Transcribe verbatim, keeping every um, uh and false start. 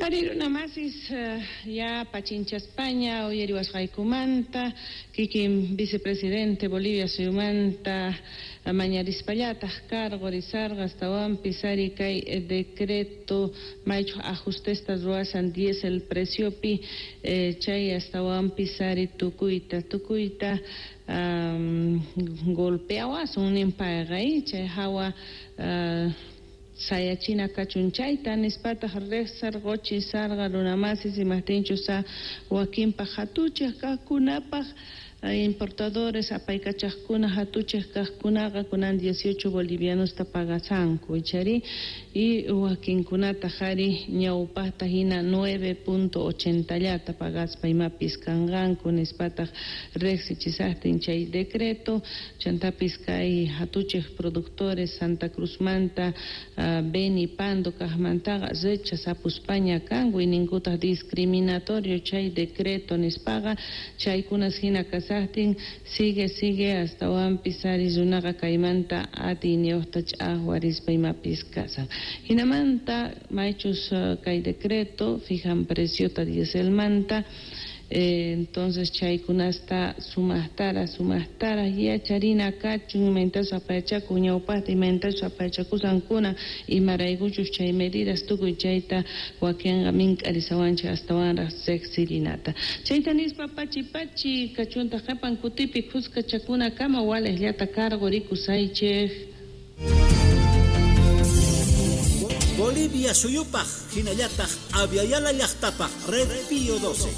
Ari runamasis ya pachinchaspaña uyariwasqaykumanta kikin vicepresidente Bolivia suyumanta mañarispallataq cargo risarqa astawanpis ari kay decreto maychu ajustesta ruwasan diésel preciopi eh, chay astawanpis ari tukuyta tukuyta um, golpeawasun ninpayqa chay hawa uh, sayachina kachun chayta nispataq riqsarquchi sarqa runamasis imaqtinchus wakinpaq hatuchaq kaqkunapaq importadores apaykachaqkuna hatuchaq kaqkunaqa kunan dieciocho bolivianosta pagasanku ichari y wakinkunataq ari ñawpaqta hina nueve punto ochenta llata pagaspa imapis kanqanku nispataq riqsichisaqtin chay decreto chantapis kay hatuchaq productores Santa Cruzmanta uh, Beni Pando kaqmantaqa rechazapuspaña kanku y ninkutaq discriminatorio chay decreto nispaqa chaykunas hina kasaq sigue sigue astawanpis ari runaqa kaymanta atiyniyuqta ch'aqwarispa imapis kasan hinamanta maychus kay decreto fijan preciota dieselmanta eh, entonces chaykunasta sumaqtara sumaqtara yacharina kachun imayntachus apayachakun ñawpaqta imayntachus apayachakusankuna imaraykuchus chay medidas tukuy chayta wakinqa mink'arisawanchik astawanraq riqsirinata chayta nispa pachi pachi kachuntaq qhipan kutipi khuskachakunakama waliqllata cargo rikusaychik. Bolivia suyupaq hinallataq Aviala llaqtapaq Red Pío doce.